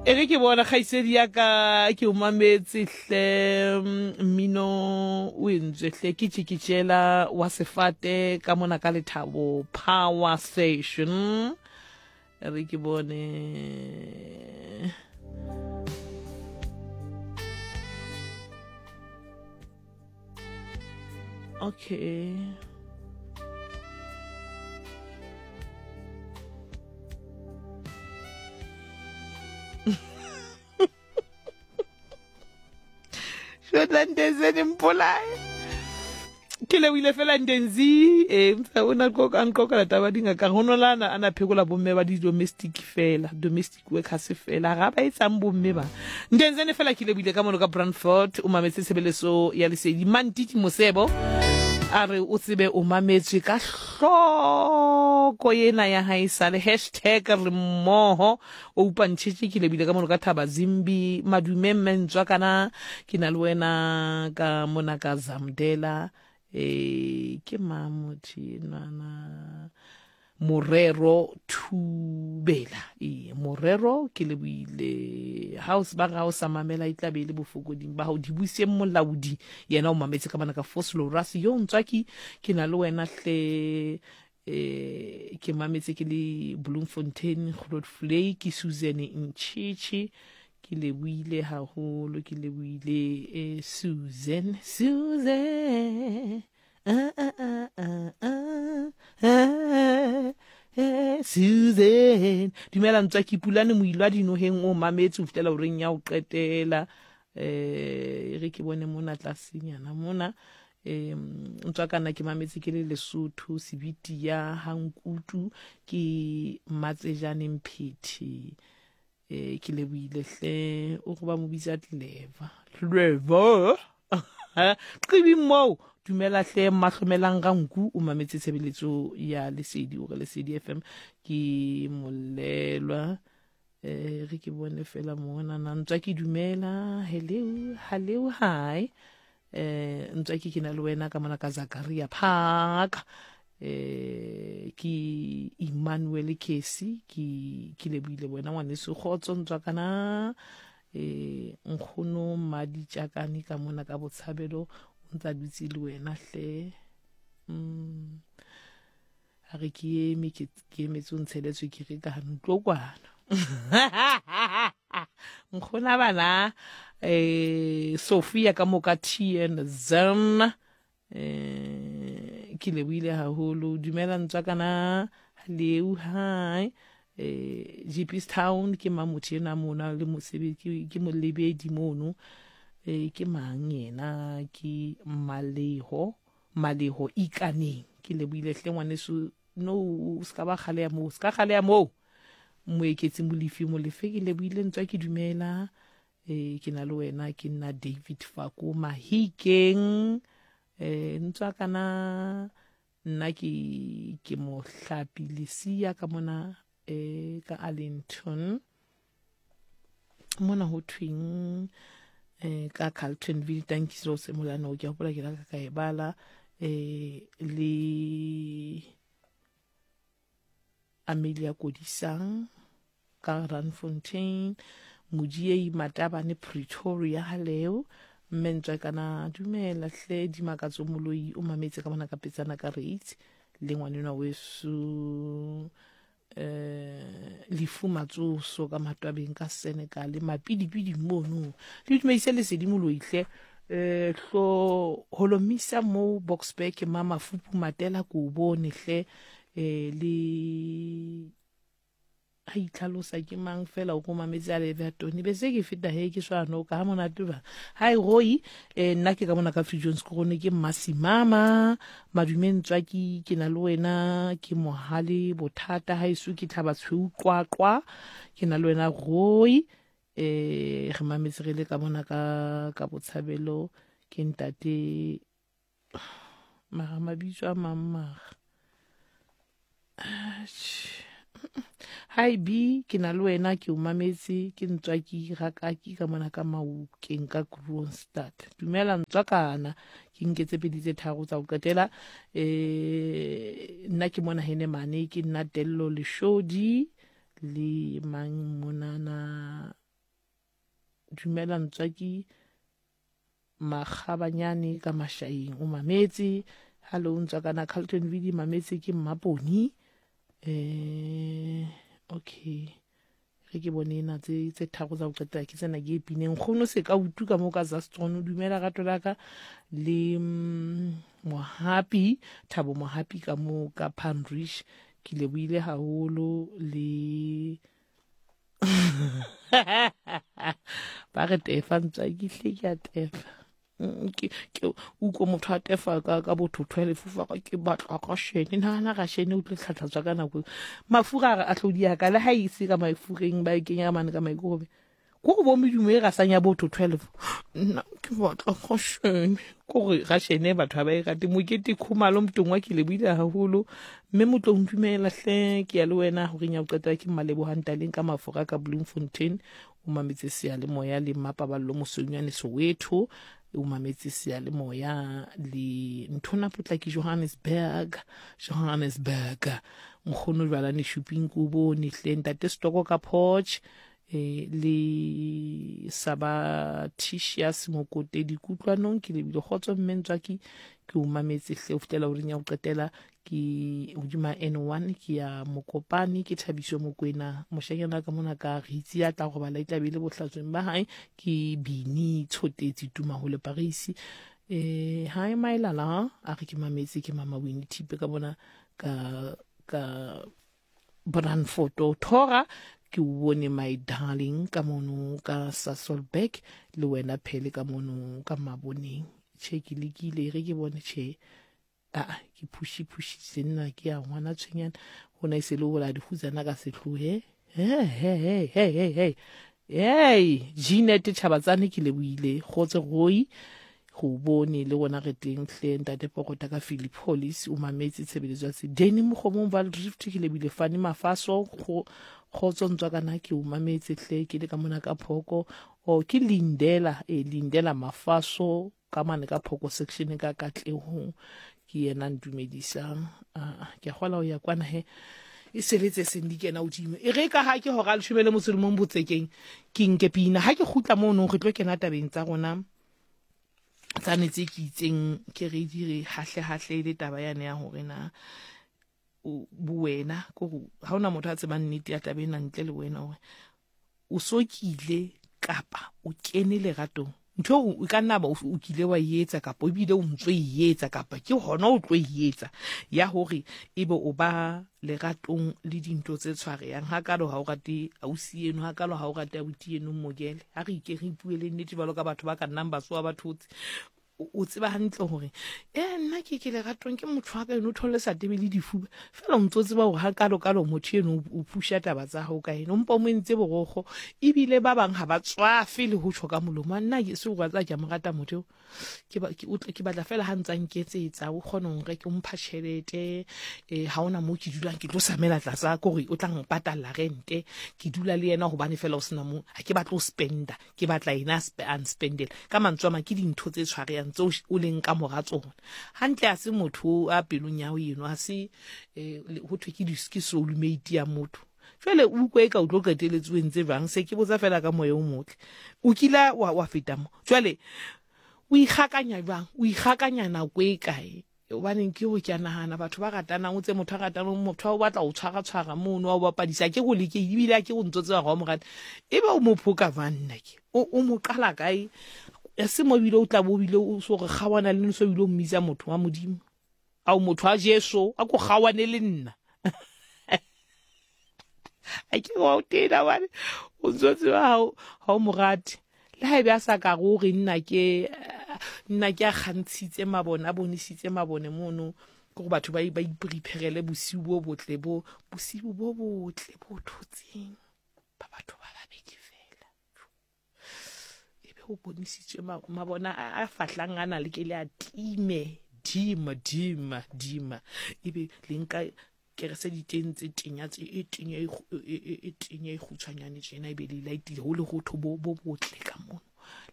E re ke bona kgaitsedi ya ka ke o mametse hle mmino o entswe hle ke tšikitšela wa sefate ka mona ka lethabo power station re ke bone okay Shotlandezeni mpolae ke lebohile fela ndenzi e o na a nqokela taba dingaka go nolana a na phekola bomme ba di-domestic fela domestic workers fela ga ba etsang bomme ba ndenzene fela ke lebohile ka mono ka brandford o mametse tshebeletso ya lesedi mantiti mosebo a re o tsebe o mametswe ka hloko yena ya hae sale hashtag re mmoho o upantšhetše ke lebile ka mono ka thaba zimbi madume mmentswa kana ke na le wena ka mona ka zamdela e ke mang motho enwana morero thubela ee morero ke leboile house ba ga o sa mamela e tla be e le bofokoding ba gago dibuseng molaodi yena o mametse ka bana ka foslorus yo ntswaki ke na le wena hle eh ke mametse ke le Bloemfontein Grootvlei ke Susan Ntšhitšhi ke leboile haholo ke leboile eh, Susan Susan ah, ah, ah, ah, ah, ah, eh, Susan dumela ntswa ke pulane moilwa dinoheng o mametse o fihlela oreng ya o qetela eh re ke bone mona tlasenyana mona um ntswakana ke mametse ke le lesotho sebiti ya hankutu ke matsejane mphethi um ke leboile hle o go ba mo bitsa clever clever qibing moo dumela hle mahlomelang ga nku o mametse tshebeletso ya lesedi o re lesedi fm ke molelwa um re ke bone fela mona na ntswa ke dumela hello hello hi eh ntswa ke ke na le wena ka mona ka Zakaria Park eh ke Emmanuel Kesi ke ke leboile wena ngwaneso kgotso ntswa kana eh nkgono Mmaditjakane ka mona ka botshabelo o ntsa dutse le wena hle mm a re ke eme ke emetse o ntshele tswekere ka ntlo kwana nkgona bana eh Sophia ka moka TN Zan eh ke lebohile haholo dumela ntswa kana leu hi eh GP's Town ke mang motho ena mona le mosebetsi ke molebedi mono eh ke mang yena ke Maleho Maleho ikaneng ke lebohile hle ngwaneso no o se ka ba kgaleya moo se ka kgaleya moo moeketsi molefi molefe ke lebohile ntswa ke dumela e ke na le wena ke nna David Fako Mahikeng e ntswa kana nna ke ke mohlapi lesia ka mona e ka Arlington mona ho thweng eh ka Carltonville tankiso se molano ke hopola ke la ka e bala eh le Amelia Kodisang ka Randfontein Modiei Matabane Pretoria haleo mme ntswa kana dumela hle dimakatso moloi o mametse ka bona ka petsana ka rates le ngwanenwa weso eh lefu matsoso ka matwabeng ka Senegal mapidipidi mono le dumedise lesedi moloihle eh hlo holomisa mo Boksburg mama fupu matela ko bone hle eh le a itlhalosa ke mang fela o ko mametse a lebe tone be se ke feta he ke swana o ka ha monate ba hi roi eh nna ke ka mona ka Free Jones Krone ke mmasimama Madume Ntswaki ke na le wena ke mohale bothata ha eso ke thaba tshweu qwaqwa ke na le wena Roy eh re mametse re le ka mona ka ka botshabelo ke ntate mara mabitso a mang mara Hi B, ke na le wena ke o mametse ke ntswaki rakaki ka mona ka Maokeng ka Kroonstad. Dumela ntswakana ke nke tse pedi tse tharo tsa go qetela eh nna ke mona hene mane ke nna Tello Leshodi le mang monana. Dumela Ntswaki Makgabanyane ka Mashaeng o mametse. Hallo Ntswakana Carlton Vidi mametse ke Mmaponi. Eh okay. Ge ke bone ena tse tse tharo tsa go qetela ke tsena ke e pineng. Nkgono se ka utu ka mo ka Zastron dumela rato la ka le mm, Mohapi Thabo Mohapi ka mo ka Panrish ke lebohile haholo le ba re tefa ntsa ke hle ke a tefa mm, ke ke utlwa motho a tefa ka ka botho 12 fa ke batla ka shene nahana ga shene o tlo tlhatlhatswa ka nako mafura a re a tlodi ya ka le ha e se ka mafureng ba e kenya mane ka maikorobe ko go bo medumo e gasanya botho 12 nna ke batla ga shene ko gore ga shene batho ga ba e rate mokete khumalo motong wa ke leboile haholo mme motlong dumela hle ke ya le wena goreng ya go qetela ke mmalebogang taleng ka mafora ka bloemfontein o mametse seyalemoya le mmapaballo mosweunyane soweto o mametse seyalemoya le nthona potlaki johannesburg johannesburg nkgono jwalane shuping ko bone hle ntate stoko ka porch e le sabatitius mokotedi kutlwanong ke lebile kgotso mme ntswaki ke o mametse hle o fihlela o reng ya go qetela ke hodima N1 ke ya Mokopane ke Thabiso Mokwena moshanyana ka mona ka ritsi ya tla robala e tlabe le bohlatsweng ba hae ke Bini Tshotetsi tuma ho le Paris eh hi my lala a re ke mametse ke mama Winnie Thipe ka bona ka ka Brandfoto Thora ke o bone my darling ka mono ka Sasolburg le wena phele ka mono ka maboneng che ke lekile re ke bone che aa ke phuši-phušitše nna ke ya ngwana tshwenyana gona e se le bola dikhutsana ka sehlohe he he he he he he hey Jeanette Chabatsane ke lebohile kgotse goi go bone le gona re teng hle ntate pokota ka Philippolis o mametse tshebeletso ya sedeni mogomong Valdrift ke lebile Fani Mafaso kgotso ntswa kana ke o mametse hle ke le ka mona ka phoko o ke Lindela e Lindela Mafaso ka mane ka phoko section ka katlehong ke yena ntumedisang ah, ke a gola o ya kwana he e seletse seng di kena godimo e re ka ga ke hora leshome le motso le mong botsekeng ke nke pina ga ke gutla mo nong re tlo kena tabeng tsa rona tsane tse ke itseng ke re di re hahle hahle le taba yane ya hore na bowena ko ga ona motho a tsebang nnete ya taba ena ntle le wena gore o so kile kapa o kene leratong ntho eo e ka nna ba o kile wa e etsa kapa ebile o ntso e etsa kapa ke hona o tlo e etsa ya hore ebe o ba leratong le dintho tse tshwareyang ha kalo ha o rate ausi eno ha kalo ha o rate abuti eno mmokele ha re ike re ipuele nnete jwalo ka batho ba ka nnang ba tsoha ba thotse o tseba hantle gore e nna ke ke leratong ke motho wa ka eno o thole sa tebe le difuba fela o ntse o tseba gore ga kalo-kalo motho eno o phuša taba tsa gago ka ene o mpa o mo entse borogo ebile ba bangwe ga ba tswafe le go tsho ka molomo a nna ke se go tsa ke a mo rata motho eo ke batla fela ga ntse a nketsetsa o kgone go reke o mpha tšhelete um ga ona mo ke dulang ke tlo samela tlasa kore o tla mpatalela rente ke dula le yena gobane fela o sena mo ga ke batlo o spenda ke batla ena a nspendele ka mantswe a mang ke dintho tse tshwareyang tseo o leng ka mora tsona hantle a se motho a pelong ya ho eno a se eh, ho thwe ke ke soulmate ya motho jwale o utlwa e ka o tlo qeteletse o entse jwang se ke botsa fela ka moya o motle o kila wa, wa feta mo jwale o ikgakanya jwang o ikgakanya nako e kae Gobaneng ke go ke a nagana batho ba ratanang o tse motho a ratanang motho a o batla go tshwara-tshwara mono wa o bapadisa ke go leke ebile a ke go ntse tseba ga o mo rata e be o mo phoka jwang nna ke o mo qala kae ya se mo ebile o tla bo ebile o so re kgawana le so ebile o mmitsa motho wa modimo ao motho wa Jesu a ko kgawane le nna a ke wa o tena bane o ntse tseba ha o mo rate Le ha ebe a sa ka go re nna ke nna ke a kgantshitse mabone a bonesitse mabone mono ke go batho ba ba ipreparele bosiu bo botle bo bosiu bo botle bo thotseng ba batho ba babedi fela ebe o bonisitswe mabona a fahlang a na le ke le a time dima dima dima ebe le nka kerese diteng tse tenya tse e tenya e, e, e, e tenya e kgutshwanyane tjena e be le laetile ho le hotho bo bo botle ka mono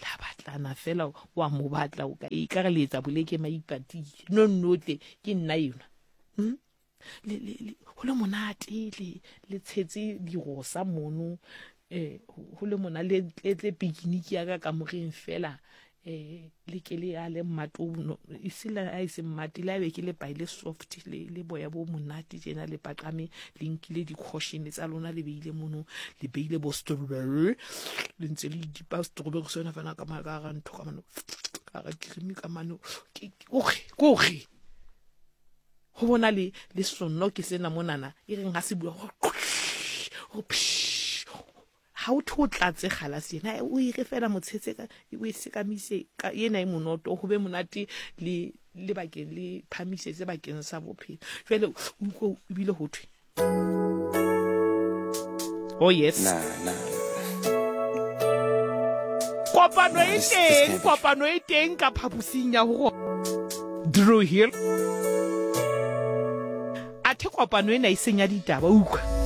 la batlana fela wa mo batla o ka e ka re le etsa boleke maipatile no nnotle ke nna enwa hmm? le le le ho le monate le le tshetse dirosa mono Eh, ho le mona le tle pikiniki ya ka kamoreng fela eh le ke le ya le mmate o e se la a e se mmate le a be ke le paile soft le le boya bo monate tjena le paqame le nkile di-caution tsa lona le beile mono le beile bo strawberry le ntse le dipa strawberry sona fana ka ka ga ntho ka mano ka ga cream ka mano ke koge koge Go bona le, le sonno ke sena monana, e reng ga se bua go go ga o thwe o tlatse galase yena o e re fela motshetse ka o e sekamise ka ena e monoto go be monate le le bakeng le phamisetse bakeng sa bophelo jale o utlwe ebile go thwe oh yes Nah, nah. Kopano e This- this teng, can't be kopano e teng ka phaposing ya go Drew Hill. Athe kopano ena e senya ditaba, utlwa.